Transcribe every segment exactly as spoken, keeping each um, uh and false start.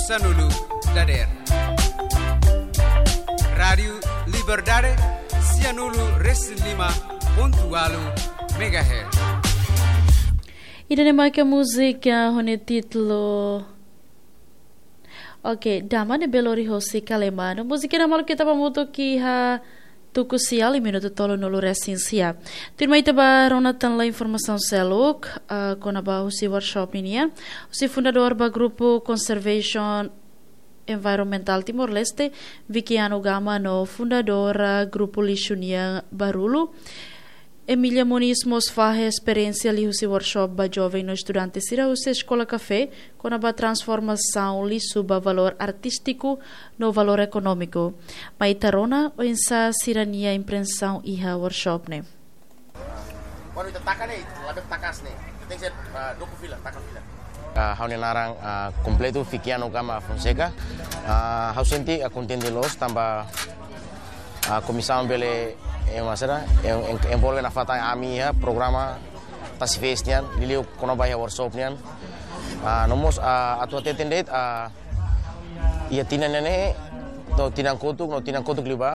Sanulu dader. Rádiu Liberdade, sianulu resin lima pontu ualu megahertz. Ida-ne'e maka múzika ho nia títulu, oke, Dama ne'ebé lori hosi Kalema. No múzika ne'e maluk ita hamutuk iha tuku sia, liu minutu tolunulu resin sia. Tuirmai ita bá rona tan lai informasaun seluk, ah, kona-ba husi workshop ninian, husi fundadór ba grupu Conservation Environmental Timor-Leste, Vikiano Gama, no fundadora grupu lixu nian Barulu, Emília Moniz, mós fahe esperiénsia liuhusi workshop ba joven no estudante sira husi Eskola Kafé, kona-ba transformasaun lixu ba valór artístiku no valór ekonómiku. Mai ita rona oinsá sira-nia impresaun iha workshop ne'e. Kuandu ita taka ne'e, labele taka ne'e. Ita tenke ser, ah, doku fila, taka fila. Ah, ha'u-nia naran, ah, kompletu Vikiano Gama Fonseca. Ah, ha'u sente, ah, kontente loos tanba, ah, komisaun bele, eh, maksudnya, en-, en-, envolve nafatin ami iha programa Tasi Fest nian, liuliu kona-ba iha workshop nian. Ah, no mós, ah, atu hateten de'it, ah, iha tinan ne'e, to'o tinan kotuk, no tinan kotuk liubá.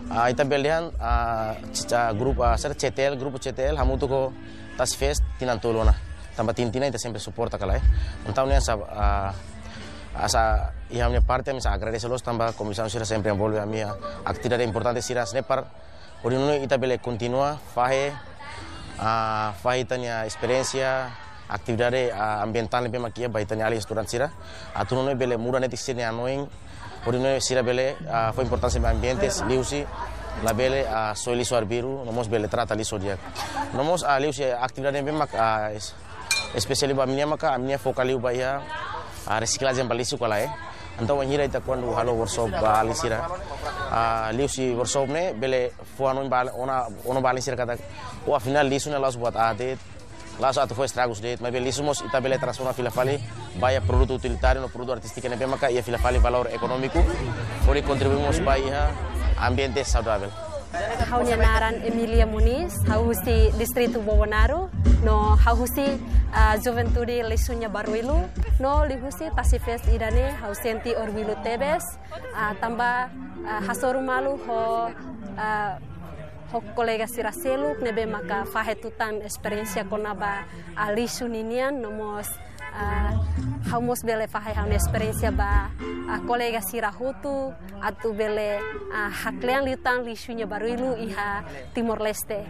Ah, ita bele dehan, ah, c-, ah, grupu, ah, sira C T L, grupu C T L, hamutuk ho Tasi Fest tinan tolu ona. Tanba tinan-tinan ita sempre suporta kala, eh. Entaun ne'e sa, ah, ah, sa, iha ami-nia parte, ami sa agradese loos tanba komisaun sira sempre envolve ami iha atividade importante sira-ne'e para hodi nune'e ita bele kontinua fahe, ah, fahe ita-nia esperiénsia, atividade, ah, ambientál ne'ebé mak iha ba ita-nia alin estudante sira. Atu nune'e bele muda netik sira-nia hanoin, hodi nune'e sira bele, ah, fó importánsia ba ambiente, liuhusi labele, ah, soe lixu arbiru, no mós bele trata lixu di'ak. No mós, ah, liuhusi atividade ne'ebé mak, ah, es-, espesiál ba ami-nia maka, ami-nia foka liu ba iha, ah, resiklajen ba lixu kala, eh. Entaun, wainhira ita kuandu halo workshop ba alin sira, ah, liuhusi workshop ne'e, bele fó hanoin ba, ona, ona ba alin sira katak, oh, afinál lixu ne'e la'ós buat aat de'it, la'ós atu fó estragus de'it, maibé lixu mós ita bele transforma fila fali ba iha produtu utilitáriu no produtu artístiku ne'ebé maka iha fila fali valór ekonómiku, hodi kontribui mós ba iha ambiente saudavel. Ha'u-nia naran Emília Moniz, ha'u husi distritu Bobonaro, no ha'u husi, ah, Juventude Lixu nia Barulu, no liuhusi Tasi Fest ida-ne'e, ha'u sente orgullu tebes, ah, tanba, ah, hasoru malu ho, ah, ho kolega sira seluk ne'ebé maka fahe tutan esperiénsia kona-ba, ah, lixu ninian, no mós, ah, ha'u mós bele fahe ha'u-nia esperiénsia ba, ah, kolega sira hotu, atu bele, ah, haklean liután lixu nia barulu iha Timor-Leste.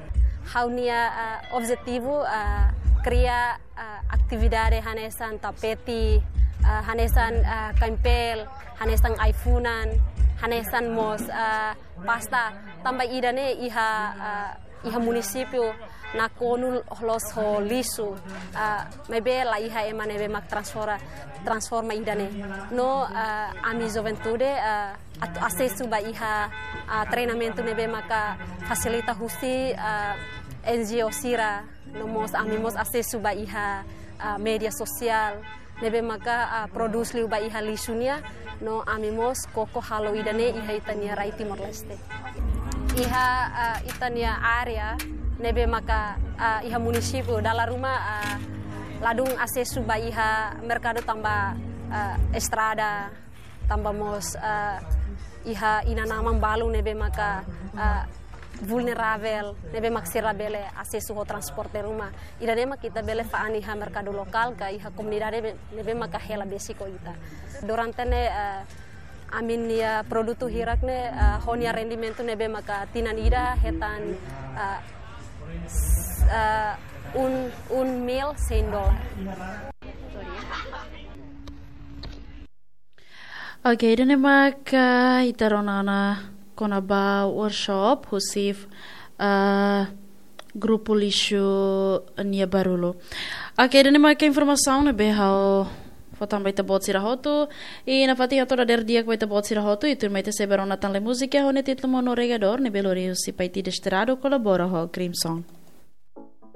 Ha'u-nia, ah, objetivu, ah, kria, ah, atividade hanesan tapete, ah, hanesan, ah, kain-peel, hanesan ai-funan, hanesan mós, ah, pasta, tanba ida-ne'e iha, ah, iha munisípiu nakonu loos ho lixu, ah, maibé la iha ema ne'ebé mak transforma, transforma ida-ne'e. No, ah, ami juventude, ah, atu asesu ba iha, ah, treinamentu ne'ebé maka fasilita husi, ah, N G O sira, no mós ami mós asesu ba iha, ah, média sosiál ne'ebé maka, ah, prodús liu ba iha lixu nian, no ami mós koko halo ida-ne'e iha ita-nia rai Timor-Leste. Iha, ah, ita-nia área ne'ebé maka, ah, iha munisípiu dala ruma, ah, ladún asesu ba iha merkadu tanba, ah, estrada, tanba mós, ah, iha inan-aman balun ne'ebé maka, ah, vulneravel, ne'ebé mak sira labele asesu ho transporte ruma. Ida-ne'e mak ita bele fa'an iha merkadu lokál ka iha komunidade be-, ne'ebé maka hela besik ho ita. Durante ne'e, ah, ami-nia produtu hirak ne'e, ah, ho nia rendimentu ne'ebé maka tinan ida hetan, ah, s-, ah, un, un mil cien dólar. Oke, ida-ne'e maka ita rona ona kona-ba workshop husi, ah, grupu lixu nia barulu. Oke, ida-ne'e maka informasaun ne'ebé ha'u fó tan ba ita-boot sira hotu. I nafatin hato'o dadeer di'ak ba ita-boot sira hotu, i tuirmai ita sei bá rona tan lai múzika ho nia títulu Mono Regador, ne'ebé lori husi Paiti Desterrado kolabora ho Crimson.